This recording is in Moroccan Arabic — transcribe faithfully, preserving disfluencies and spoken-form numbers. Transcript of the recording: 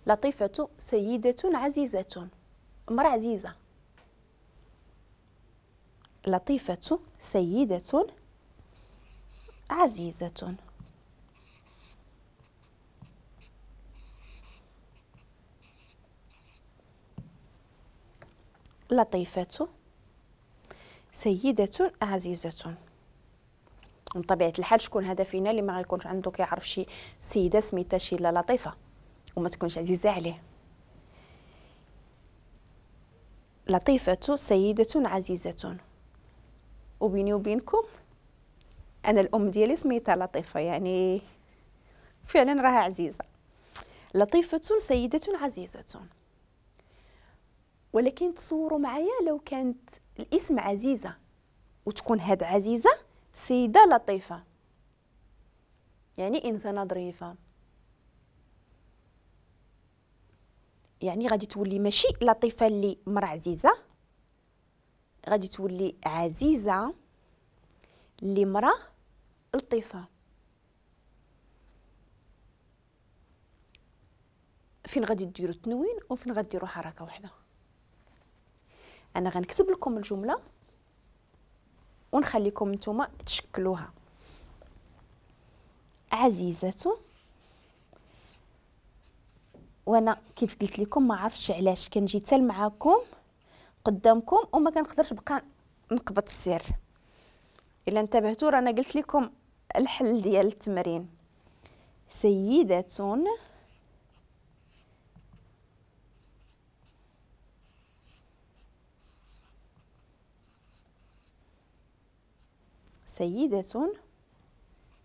لطيفة سيدة عزيزة، امرأة عزيزة. لطيفة سيدة عزيزة. لطيفة سيدة عزيزة. من طبيعة الحال شكون هذا فينا اللي ما غيكونش عنده كيعرف شي سيدة سميتها شي لا لطيفة وما تكونش عزيزة عليه. لطيفة سيدة عزيزة. وبيني وبينكم أنا الأم ديالي سميتها لطيفة، يعني فعلا راها عزيزة. لطيفة سيدة عزيزة. ولكن تصوروا معايا لو كانت الاسم عزيزة وتكون هاد عزيزة سيدة لطيفة، يعني إنسانة ظريفة، يعني غادي تولي ماشي لطيفة اللي مرا عزيزة، غادي تولي عزيزة اللي مرا لطيفة. فين غادي ديروا التنوين وفين غاديروا حركة واحدة؟ انا غنكتب لكم الجملة ونخليكم نتوما تشكلوها. عزيزة، وانا كيف قلت لكم ما عرفتش علاش كنجي حتى معاكم قدامكم وما كنقدرش بقى نقبط السر. الا انتبهتوا رانا قلت لكم الحل ديال التمرين. سيدة سيدة